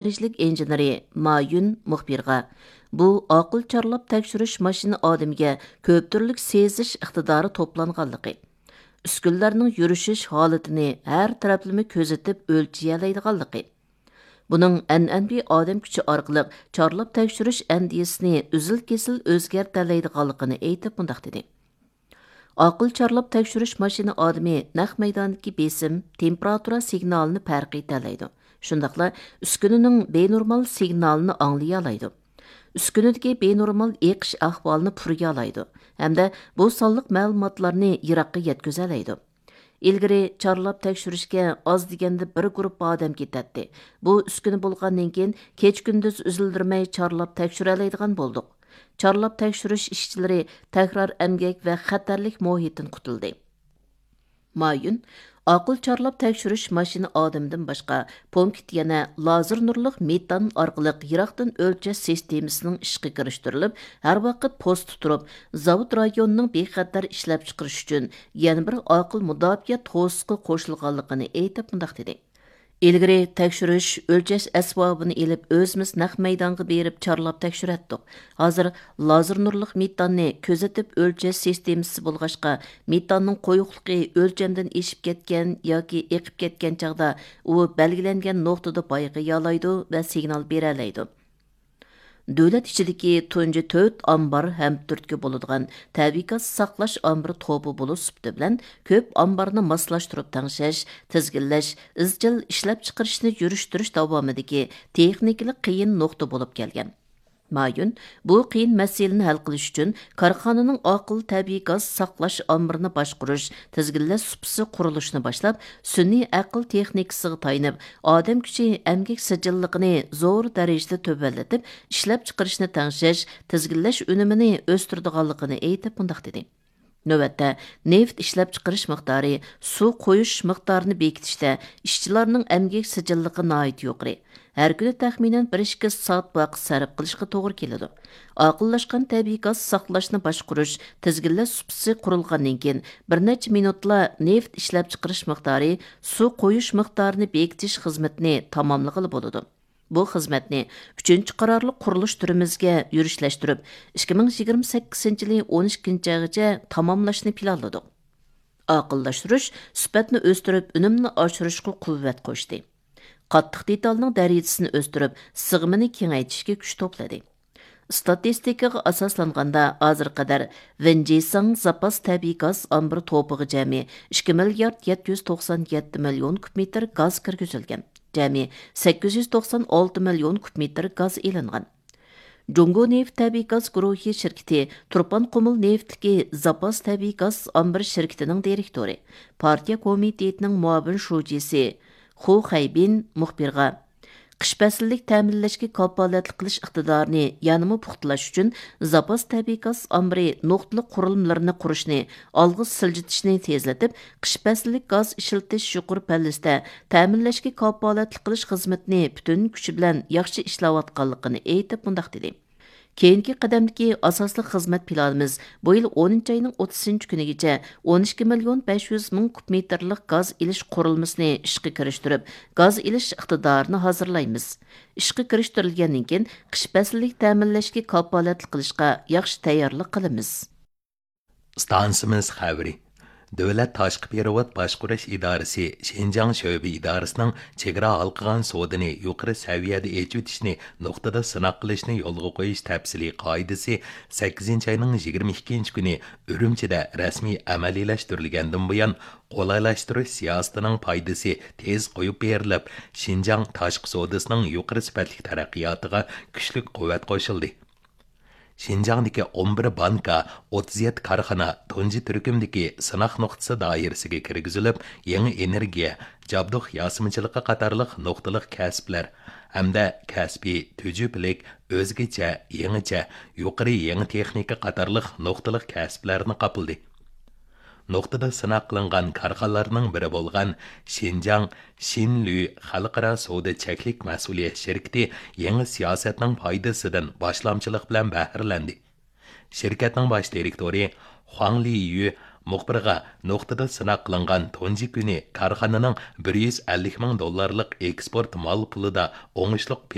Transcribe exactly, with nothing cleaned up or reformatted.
دەرىجىلىك ئىنژېنېرى ما يۈن مۇخبىرغا، بۇ ئاقىل چارلاپ تەكشۈرۈش ماشىنا ئادىمىگە كۆپ تۈرلۈك سېزىش ئىقتىدارى توپلانغانلىقى، ئۈسكۈنىلەرنىڭ يۈرۈشۈش ھالىتىنى ھەر تەرەپلىمە كۆزىتىپ ئۆلچىيەلەيدىغانلىقى، بۇنىڭ ئەنئەنىۋى ئادەم كۈچى ئارقىلىق چارلاپ تەكشۈرۈش ئەندىزىسىنى ئۈزۈل-كېسىل ئۆزگەرتەلەيدىغانلىقىنى ئېيتىپ مۇنداق دېدى: ئاقىل چارلاپ تەكشۈرۈش ماشىنا ئادىمى نەق مەيداندىكى بېسىم، تېمپېراتۇرا سىگنالىنى پەرقىيتەلەيدۇ. شۇنداقلا ئۈسكۈنىنىڭ بىنورمال سىگنالىنى ئاڭلىيالايدۇ. ئۈسكۈنىدىكى بىنورمال ئېقىش ئەھۋالىنى پۇرىيالايدۇ ھەمدە بۇ سانلىق مەلۇماتلارنى يىراققا يەتكۈزەلەيدۇ. ئىلگىرى چارلاپ تەكشۈرۈشكە ئاز دېگەندە بىر گۇرۇپپا ئادەم كېتەتتى. بۇ ئۈسكۈنە بولغاندىن كېيىن، كېچە-كۈندۈز ئۈزۈلدۈرمەي چارلاپ تەكشۈرەلەيدىغان بولدۇق. چارلاپ تەكشۈرۈش ئىشچىلىرى تەكرار ئەمگەك ۋە خەتەرلىك مۇھىتتىن قۇتۇلدى. مايۈن، ئاقىل چارلاپ تەكشۈرۈش ماشىنا ئادىمىدىن باشقا، پونكىت يەنە لازېر نۇرلۇق مېتان ئارقىلىق يىراقتىن ئۆلچەش سىستېمىسىنىڭ ئىشقا كىرىشتۈرۈلۈپ، ھەر ۋاقىت پوستتا تۇرۇپ، زاۋۇت رايونىنىڭ بىخەتەر ئىشلەپچىقىرىش ئۈچۈن يەنە بىر ئاقىل مۇداپىئە توسۇقى قوشۇلغانلىقىنى ئېيتىپ مۇنداق دېدى: ئىلگىرى تەكشۈرۈش، ئۆلچەش ئەسۋابىنى ئېلىپ، ئۆزىمىز نەق مەيدانغا بېرىپ چارلاپ تەكشۈرەتتۇق. ھازىر لازېر نۇرلۇق مېتاننى كۆزىتىپ ئۆلچەش سىستېمىسى بولغاچقا، مېتاننىڭ قويۇقلۇقى ئۆلچەمدىن ئېشىپ كەتكەن ياكى ئېقىپ كەتكەن چاغدا، ئۇ بەلگىلەنگەن نۇقتىدا بايقىيالايدۇ ۋە سىگنال بېرەلەيدۇ. دۆلەت ئىچىدىكى تۇنجى تۆت ئامبار ھەم تۈرتكە بولىدىغان تەبىئىي گاز ساقلاش ئامبىرى توپى بولۇش سۈپىتى بىلەن، كۆپ ئامبارنى ماسلاشتۇرۇپ تەڭشەش، تىزگىنلەش، ئىزچىل ئىشلەپچىقىرىشنى يۈرۈشتۈرۈش داۋامىدىكى تېخنىكىلىق قىيىن نۇقتا بولۇپ كەلگەن. مايۈن بۇ قىيىن مەسىلىنى ھەل قىلىش ئۈچۈن، كارخانىنىڭ ئاقىل تەبىئىي گاز ساقلاش ئامبىرىنى باشقۇرۇش، تىزگىنلەش سۇپىسى قۇرۇلۇشىنى باشلاپ، سۈنئىي ئەقىل تېخنىكىسىغا تايىنىپ، ئادەم كۈچى ئەمگەك سىجىللىقىنى زور دەرىجىدە تۆۋەنلىتىپ، ئىشلەپچىقىرىشنى تەڭشەش، تىزگىنلەش ئۈنۈمىنى ئۆستۈرىدىغانلىقىنى ئېيتىپ مۇنداق دېدى: نۆۋەتتە، نېفىت ئىشلەپچىقىرىش مىقدارى، سۇ قويۇش مىقدارىنى بېكىتىشتە ئىشچىلارنىڭ ئەمگەك سىجىللىقى ناھايىتى يۇقىرى. ھەر كۈنى تەخمىنەن بىر ئىككى سائەت ۋاقىت سەرپ قىلىشقا توغرا كېلىدۇ. ئاقىللاشقان تەبىئىي گاز ساقلاشنى باشقۇرۇش، تىزگىنلەش سۇپىسى قۇرۇلغاندىن كېيىن، بىر نەچچە مىنۇتلا نېفىت ئىشلەپچىقىرىش مىقدارى، سۇ قويۇش مىقدارىنى بېكىتىش خىزمىتىنى تاماملىغىلى بولىدۇ. بۇ خىزمەتنى ئۈچىنچى قارارلىق قۇرۇلۇش تۈرىمىزگە يۈرۈشلەشتۈرۈپ، ئىككى مىڭ يىگىرمە سەككىزىنچى يىلى ئون ئىككىنچى ئايغىچە تاماملاشنى پىلانلىدۇق. ئاقىللاشتۇرۇش سۈپەتنى ئۆستۈرۈپ، ئۈنۈمنى ئاشۇرۇشقا قۇۋۋەت قوشتى. قاتتىق دېتالنىڭ دەرىجىسىنى ئۆستۈرۈپ، سىغىمىنى كېڭەيتىشكە كۈچ توپلىدى. ئىستاتىستىكىغا ئاساسلانغاندا، ھازىرغا قەدەر ۋېنجىساڭ زاپاس تەبىئىي گاز ئامبىرى توپىغا جەمئىي ئىككى مىليارد يەتتە يۈز توقسان يەتتە مىليون كۇب مېتىر گاز كىرگۈزۈلگەن. جەمئىي سەككىز يۈز توقسان ئالتە مىليون كۇب مېتىر گاز ئېلىنغان. جۇڭگو نېفىت تەبىئىي گاز گۇرۇھى شىركىتى تۇرپان قۇمۇل نېفىتلىكى زاپاس تەبىئىي گاز ئامبىرى شىركىتىنىڭ دىرېكتورى، پارتىيە كومىتېتىنىڭ مۇئاۋىن شۇجىسى خۇ خەيبىن مۇخبىرغا، قىش پەسلىلىك تەمىنلەشكە كاپالەتلىك قىلىش ئىقتىدارىنى يەنىمۇ پۇختىلاشتۇرۇش ئۈچۈن، زاپاس تەبىئىي گاز ئامبىرى نۇقتىلىق قۇرۇلمىلىرىنى قۇرۇشنى ئالغا سىلجىتىشنى تېزلىتىپ، قىش پەسلىلىك گاز ئىشلىتىش يۇقىرى پەللىسىدە تەمىنلەشكە كاپالەتلىك قىلىش خىزمىتىنى پۈتۈن كۈچى بىلەن ياخشى ئىشلەۋاتقانلىقىنى ئېيتىپ، مۇنداق دېدى: كېيىنكى قەدەمدىكى ئاساسلىق خىزمەت پىلانىمىز بۇ يىل ئونىنچى ئاينىڭ ئوتتۇزىنچى كۈنىگىچە ئون ئىككى مىليون بەش يۈز مىڭ كۇب مېتىرلىق گاز ئېلىش قۇرۇلمىسىنى ئىشقا كىرىشتۈرۈپ، گاز ئېلىش ئىقتىدارىنى ھازىرلايمىز. ئىشقا كىرىشتۈرۈلگەندىن كېيىن، قىش پەسلىلىك تەمىنلەشكە كاپالەتلىك قىلىشقا ياخشى تەييارلىق قىلىمىز. ئىستانسىمىز خەۋىرى. دۆلەت تاشقى پېرېۋوت باشقۇرۇش ئىدارىسى شىنجاڭ شۆبە ئىدارىسىنىڭ چېگرا ھالقىغان سودىنى يۇقىرى سەۋىيەدە ئېچىۋېتىشنى نۇقتىدا سىناق قىلىشنى يولغا قويۇش تەپسىلىي قائىدىسى سەككىزىنچى ئاينىڭ يىگىرمە ئىككىنچى كۈنى ئۈرۈمچىدە رەسمىي ئەمەلىيلەشتۈرۈلگەندىن بۇيان، قولايلاشتۇرۇش سىياسىتىنىڭ پايدىسى تېز قويۇپ بېرىلىپ، شىنجاڭ تاشقى سودىسىنىڭ يۇقىرى سۈپەتلىك تەرەققىياتىغا كۈچلۈك قۇۋۋەت قوشۇلدى. شىنجاڭدىكى ئون بىر بانكا، ئوتتۇز يەتتە كارخانا تۇنجى تۈركۈمدىكى سىناق نۇقتىسى دائىرىسىگە كىرگۈزۈلۈپ، يېڭى ئېنېرگىيە، جابدۇق ياسىمىچىلىقى قاتارلىق نۇقتىلىق كەسىپلەر ھەمدە كەسپىي، تۈجۈپىلىك، ئۆزگىچە، يېڭىچە، يۇقىرى يېڭى تېخنىكا قاتارلىق نۇقتىلىق كەسىپلەرنى قاپلىدى. نۇقتىدا سىناق قىلىنغان كارخانىلارنىڭ بىرى بولغان شىنجاڭ شىنلۈ خەلقئارا سودا چەكلىك مەسئۇلىيەت شىركىتى يېڭى سىياسەتنىڭ پايدىسىدىن باشلامچىلىق بىلەن بەھرىلەندى. شىركەتنىڭ باش دىرېكتورى خۇاڭ لىيۈ مۇخبىرغا نۇقتىدا سىناق قىلىنغان تۇنجى كۈنى كارخانىنىڭ بىر يۈز ئەللىك مىڭ دوللارلىق ئېكسپورت مال پۇلىدا ئوڭۇشلۇق